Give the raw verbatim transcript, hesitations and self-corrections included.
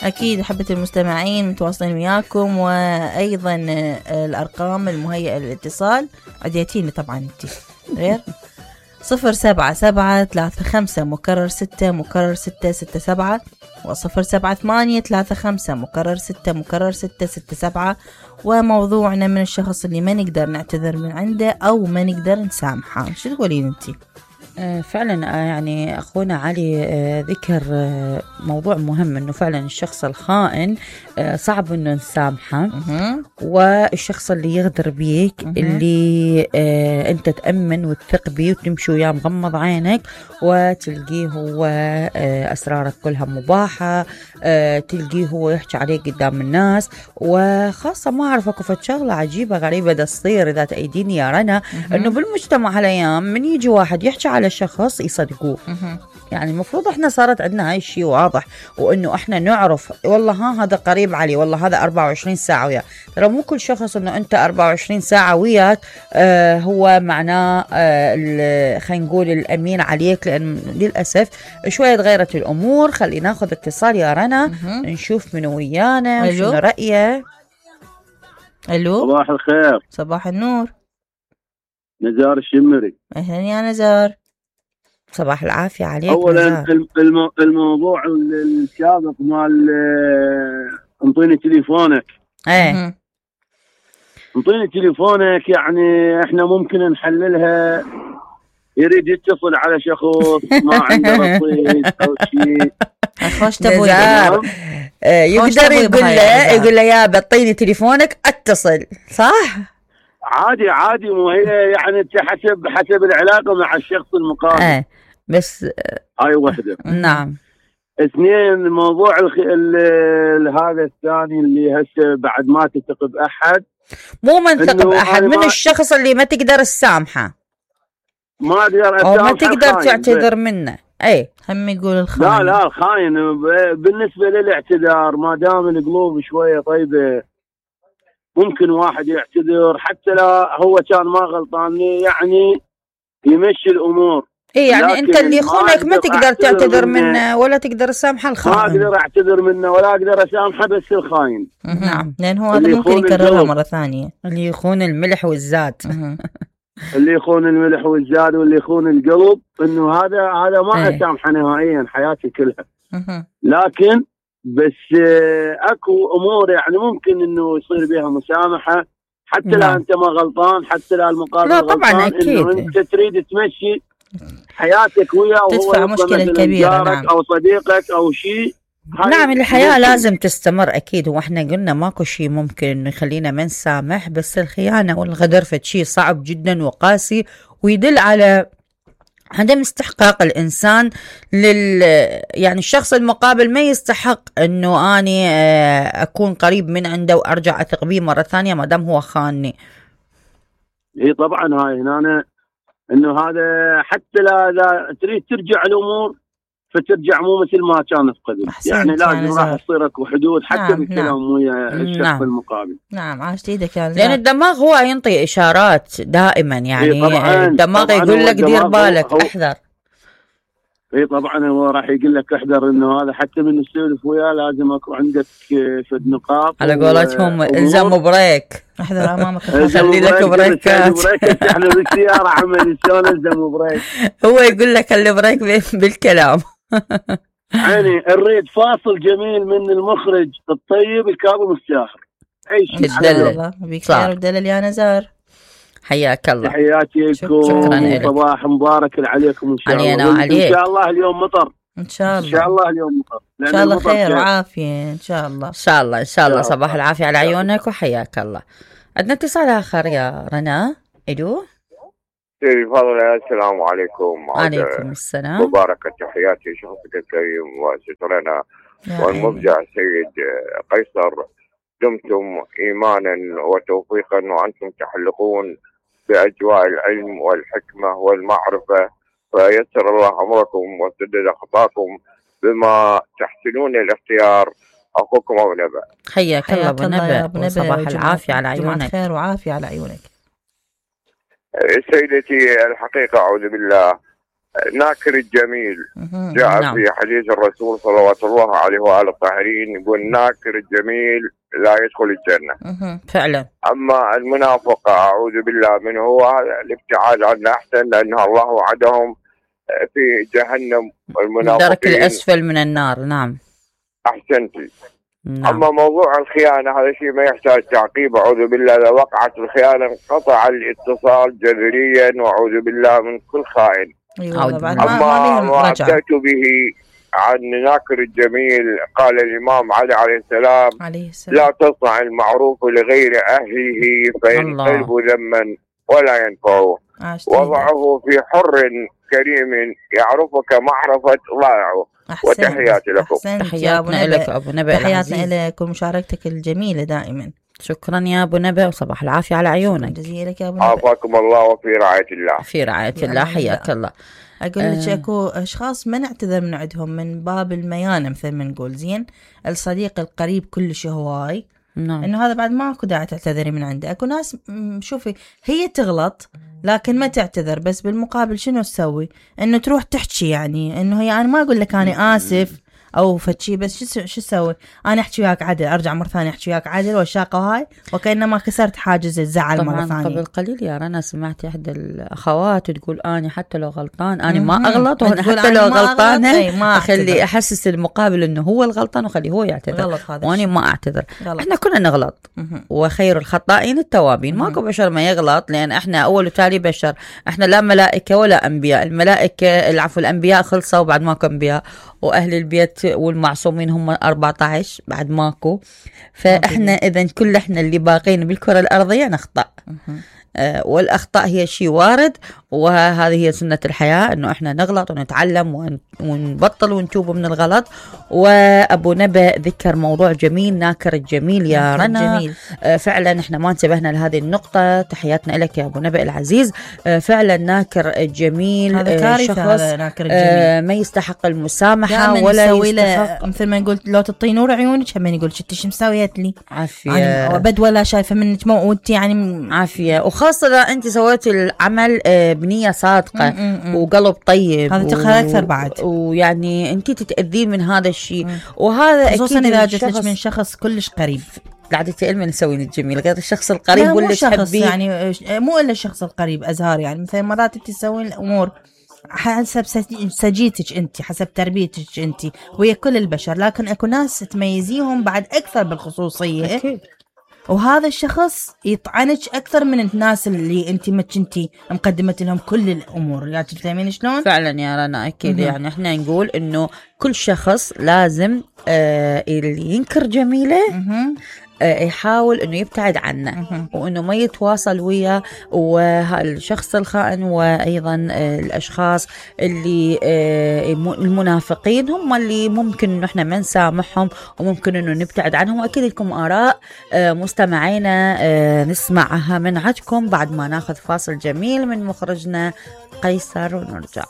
أكيد أحبة المستمعين متواصلين وياكم، وأيضا الأرقام المهيئة للاتصال عديتيني طبعا انتي غير صفر سبعة سبعة ثلاثة خمسة مكرر ستة مكرر ستة ستة سبعة، وصفر سبعة ثمانية ثلاثة خمسة مكرر ستة مكرر ستة ستة سبعة. وموضوعنا من الشخص اللي ما نقدر نعتذر من عنده أو ما نقدر نسامحه، شو تقولين انتي؟ آه فعلا آه يعني أخونا علي آه ذكر آه موضوع مهم، أنه فعلا الشخص الخائن آه صعب أنه نسامحه، والشخص اللي يغدر بيك اللي آه أنت تأمن وتثق بيه وتمشي وياه مغمض عينك وتلقيه هو آه أسرارك كلها مباحة، آه تلقيه هو يحكي عليك قدام الناس. وخاصة ما أعرف أكو شغلة عجيبة غريبة دا تصير إذا تأيديني يا رنا، أنه بالمجتمع هالأيام من يجي واحد يحكي على شخص يصدقوه. يعني المفروض احنا صارت عندنا هاي الشيء واضح، وانه احنا نعرف والله ها هذا قريب علي، والله هذا أربعة وعشرين ساعة وياه. ترى مو كل شخص انه انت أربعة وعشرين ساعة وياك آه هو معناه آه خلينا نقول الامين عليك، لان للاسف شوية تغيرت الامور. خلينا ناخذ اتصال يا رنا نشوف من ويانا وشنو رأيه. الو صباح الخير. صباح النور. نزار الشمري. اهلا يا نزار. صباح العافية عليك. اولا المو... الموضوع السابق مال انطيني تليفونك. ايه انطيني تليفونك، يعني احنا ممكن نحللها. يريد يتصل على شخص ما عنده رصيد او شيء. خوش تبوي يقدر يقول له يقول له يا بطيني تليفونك اتصل، صح؟ عادي عادي، مو هي يعني حسب حسب العلاقة مع الشخص المقابل. اه بس هاي وحدة. نعم. اثنين، موضوع الخ... ال... ال... هذا الثاني اللي هسه بعد ما تثق بأحد. مو من ثق بأحد، من ما... الشخص اللي ما تقدر تسامحه، ما اقدر اسامحه او ما تقدر تعتذر منه. اي هم يقول الخاين. لا لا الخاين بالنسبة للاعتذار ما دام القلوب شوية طيبة ممكن واحد يعتذر حتى لا هو كان ما غلطان، يعني يمشي الامور. اي يعني انت اللي يخونك ما تقدر تعتذر منه ولا تقدر تسامح الخاين. ما اقدر اعتذر منه ولا اقدر اسامحه، بس الخاين. نعم، لان هو هذا ممكن يكررها مره ثانيه. اللي يخون الملح والزاد. اللي يخون الملح والزاد واللي يخون القلب، انه هذا هذا ما اسامحه نهائيا حياتي كلها. لكن بس اكو امور يعني ممكن انه يصير بها مسامحه حتى لا لا انت ما غلطان، حتى لا المقابل لا طبعا غلطان. اكيد انه انت تريد تمشي حياتك وياه وهو تدفع مشكله كبيره. نعم. او صديقك او شيء. نعم الحياه لازم تستمر اكيد، واحنا قلنا ماكو شيء ممكن انه يخلينا ما نسامح، بس الخيانه والغدر فد شيء صعب جدا وقاسي، ويدل على عدم استحقاق الإنسان لل يعني الشخص المقابل ما يستحق إنه أني أكون قريب من عنده وأرجع أثق به مرة ثانية ما دام هو خانني. هي طبعا هاي هنا إنه هذا حتى لا لا تريد ترجع الأمور فترجع مو مثل ما كانت قبل، يعني لازم راح تصير اكو حدود حتى نعم بالكلام ويا نعم الشخص نعم المقابل. نعم عاشت ايدك يا لان الدماغ هو ينطي اشارات دائما، يعني طبعاً الدماغ طبعاً يقول لك دير بالك هو احذر. اي طبعا هو راح يقول لك احذر، انه هذا حتى من السولف وياه لازم اكو عندك فد نقاط على قولتهم الزم بريك، احذر امامك خلي لك بريكات. احنا بالسياره عمل شلون الزم بريك. هو يقول لك البريك بالكلام. يعني نريد فاصل جميل من المخرج الطيب الكاظم الساحر. اي شيء الدلل بخير ودلل يا نزار. حياك الله. تحياتي لكم، صباح مبارك عليكم ان شاء الله. ان شاء الله اليوم مطر، ان شاء الله ان شاء الله اليوم مطر، ان شاء الله خير وعافيه ان شاء الله. ان شاء الله ان شاء الله. صباح العافيه على عيونك وحياك الله. عندنا اتصال اخر يا رنا. الو تفضل. السلام عليكم. وعليكم السلام. مباركة تحياتي شخصك الكريم وسترنا والمبدع سيد قيصر. دمتم إيمانا وتوفيقا وأنتم تحلقون بأجواء العلم والحكمة والمعرفة، فيسر الله أمركم وسدد خطاكم بما تحسنون الاختيار. أخوكم أبو نبأ. حياك الله أبو نبأ، صباح العافية على عيونك. خير وعافية على عيونك سيدتي. الحقيقة أعوذ بالله ناكر الجميل جاء نعم. في حديث الرسول صلوات الله عليه وآله الطاهرين يقول ناكر الجميل لا يدخل الجنة. فعلا. أما المنافق أعوذ بالله منه هو الابتعاد عنه أحسن، لأن الله وعدهم في جهنم المنافقين الدرك الأسفل من النار. نعم أحسنتي. نعم. أما موضوع الخيانة هذا شيء ما يحتاج تعقيب، أعوذ بالله. إذا وقعت الخيانة انقطع الاتصال جذريا، وأعوذ بالله من كل خائن. أيوة. أما ما أتيت به عن ناكر الجميل قال الإمام علي عليه السلام, عليه السلام لا تصنع المعروف لغير أهله فينقلب ذما ولا ينفعه، وضعه في حر كريم يعرفك معرفة ضائعه. وتحياتي لكم. تحياتنا لك أبو نبأ العزيز. تحياتنا لك ومشاركتك الجميلة دائما. شكرا يا أبو نبأ وصباح العافية على عيونك. جزيلك يا أبو نبأ. عافاكم الله وفي رعاية الله. في رعاية الله. حياك الله. أقول لك آه. أكو أشخاص ما نعتذر من عندهم من باب الميانة مثل ما نقول. زين الصديق القريب كلش هواي نعم. إنه هذا بعد ما أكو داعي تعتذري من عنده. أكو ناس شوفي هي تغلط لكن ما تعتذر، بس بالمقابل شنو تسوي؟ إنه تروح تحكي، يعني إنه هي أنا ما أقول لك أنا آسف او فتشي، بس شو شو اسوي؟ انا احكي وياك عدل، ارجع مره ثانيه احكي وياك عدل والشاقه هاي وكانما كسرت حاجز الزعل مره ثانيه. قبل قليل يا رنا سمعت احدى الاخوات تقول اني حتى لو غلطان انا ما اغلط، وانا حتى لو غلطانه اخلي احسس المقابل انه هو الغلطان وخليه هو يعتذر وانا ما اعتذر. غلط. احنا كنا نغلط وخير الخطائين التوابين. ماكو بشر ما يغلط، لان احنا اول وتالي بشر، احنا لا ملائكه ولا انبياء. الملائكه العفو الانبياء خلصوا بعد ماكو انبياء، واهل البيت والمعصومين هم أربعة عشر بعد ماكو. فاحنا اذا كل احنا اللي باقين بالكره الارضيه نخطأ. آه والاخطاء هي شيء وارد، وهذه هي سنه الحياه، انه احنا نغلط ونتعلم ونبطل ونتوب من الغلط. وابو نبأ ذكر موضوع جميل، ناكر الجميل يا رنا. جميل. آه فعلا احنا ما انتبهنا لهذه النقطه. تحياتنا لك يا ابو نبأ العزيز. آه فعلا ناكر الجميل هذا كارثه. شخص هذا ناكر الجميل آه ما يستحق المسامحه ولا يستحق، مثل ما قلت لو تعطي نور عيونك هم يقول شتي شو مسويت لي عافيه ابد ولا شايفه منك موت يعني عافيه. وخاصه اذا انت سويتي العمل بنيه صادقه م -م -م. وقلب طيب، هذا تقهر اكثر بعد، ويعني انت تتاذين من هذا الشيء. وهذا خصوصا اذا جت لك من شخص كلش قريب. قاعده تعلمي نسوي الجميل غير الشخص القريب واللي تحبيه، يعني مو الا الشخص القريب ازهار. يعني مثلا مرات انت تسوين الامور حسب سجيتك انت، حسب تربيتك انت ويا كل البشر، لكن اكو ناس تميزيهم بعد اكثر بالخصوصيه أكيد. وهذا الشخص يطعنك اكثر من الناس اللي انت ما كنتي مقدمه لهم كل الامور. يعني تفهمين شلون؟ فعلا يا رنا اكيد. يعني احنا نقول انه كل شخص لازم آه اللي ينكر جميله يحاول انه يبتعد عنه وانه ما يتواصل وياه. والشخص الخائن وايضا الاشخاص اللي المنافقين هم اللي ممكن انه احنا ما نسامحهم وممكن انه نبتعد عنهم. واكيد لكم اراء مستمعينا نسمعها من عندكم بعد ما ناخذ فاصل جميل من مخرجنا قيصر ونرجع.